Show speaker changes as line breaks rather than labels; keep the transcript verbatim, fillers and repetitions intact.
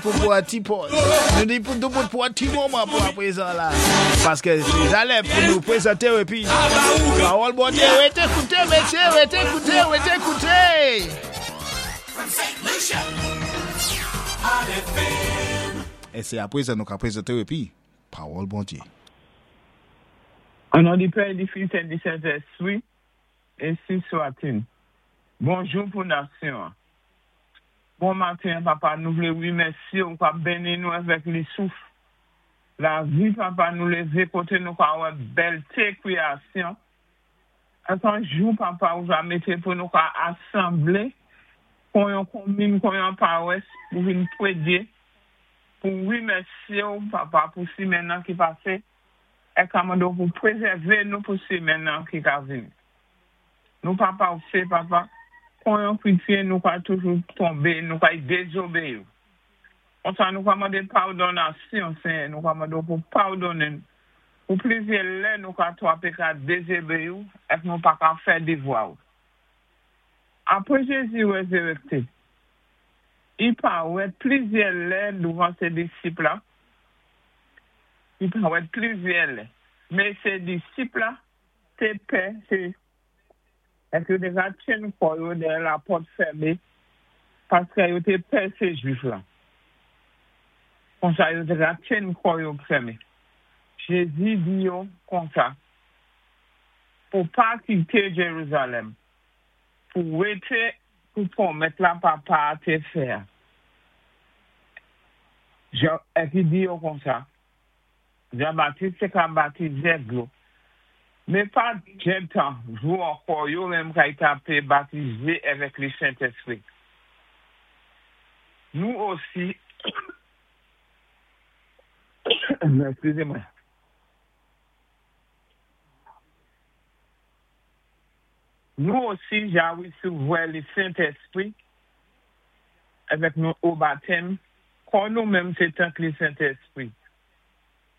Pou pwan ti poz. Nou di pou nou pou pwan ti moman pou apwézan la. Paské sé jalè pou nou pwézanté ou épi. Pawòl Bondyé, wété kouté, mésyé, wété kouté, wété kouté.
From Saint Lucia, Hot F M.
É sé apwézan nou ka pwézanté ou épi. Pawòl Bondyé.
An non di Pè, di Fis é di Sentèspwi, ensi swa-t-il. Bonjou pou nasyon. Bon maten, Papa, nou vlé wimèsyé ou ka béni nou avèk li souf. Lavi, Papa, nou lévé koté nou ka wè bèlté kwéyasyon. An jou, Papa, ou va mété pou nou ka asanblé, kon yon komin, kon yon pawès, pou vin pwédyé, pou wimèsyé ou, Papa, pou simenn nan ki pasé, é ka mandé ou pou pwézèvé nou pou simenn nan ki ka vini. Nou, Papa, ou sé, Papa, kon yon kwétyen, nou ka toujou tonbé, nou ka dézobéyi ou. Konsa nou ka mandé padonasyon, Senyè, nou ka mandé ou pou padonnen. Pou plizyè lè nou ka twapé ka dézobéyi ou, èk nou pa ka fè dévwa ou. Apwé Jézi wézéwékté, i parèt plizyè lè douvan sé disip la, i parèt plizyè lè, mé sé disip la, té pè, sé, èk yo té ka tjenn kò yo dèyè lapòt fèmé, paské yo té pè sé Jwif la. Konsa yo té ka tjenn kò yo fèmé. Jézi di yo konsa, pou pa kité Jérusalem, pou wété pou pwomès la Papa té fè. Épi di yo konsa, Jan-Batis té ka batizé dlo, mé pa gen tan jou ankò yo menm kay tapé batizé avèk li Sentèspwi. Nou osi, eskizémwen. Nou osi, ja wésévwè li Sentèspwi avèk nou o batèm, kon nou menm sé tank li Sentèspwi.